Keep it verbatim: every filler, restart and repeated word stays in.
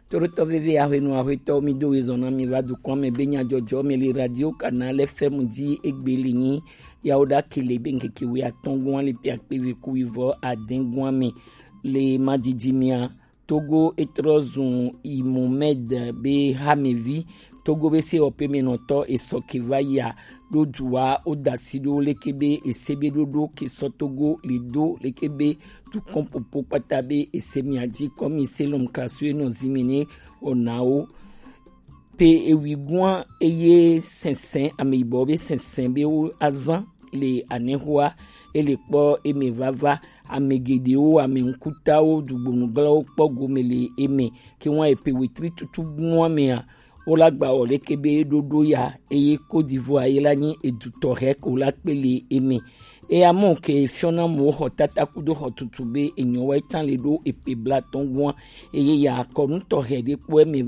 Torotɔ veve ahwenu ahwetɔ mi do wezɔn na mi va dukɔn me be nyadzɔdzɔ me le radio kana le fɛmu di egbe le nyi yawo ɖa kele be ŋkeke wi atɔn gun ale pe akpe ve ku wi vɔ aden gun me le madidi mia. Togo etrɔ zun Imomed be hamevi. Togo be se ɔpe me nɔtɔ esɔ ke va ya ɖo duwa o dasi ɖo leke be ese be ɖoɖo ke sɔ Togo le do leke be dukɔn popo kpata be ese mia di kɔmi selɔm kasu enɔ zimi ne ɔnawo pe ewi guan eye sɛnsɛn ame yibɔ be sɛnsɛn be wo azan le anexoa ele kpɔ eme vava. Ame geɖewo ame ŋkutawo dugbonuglawo kpɔ gome le eme ke wan epe wetri tutu guan mea wo la gba wɔ leke be ɖoɖo ya eye Côte d'Ivoire ye la nyi edutɔ hɛ ko la kpe le eme. Eya mɔ ke fiɔna mo xɔ tata kudo xɔ tutu be enyɔ wa tan le ɖo epe bla tɔn guan eye ya kɔnu tɔxɛ ɖe kpɔ eme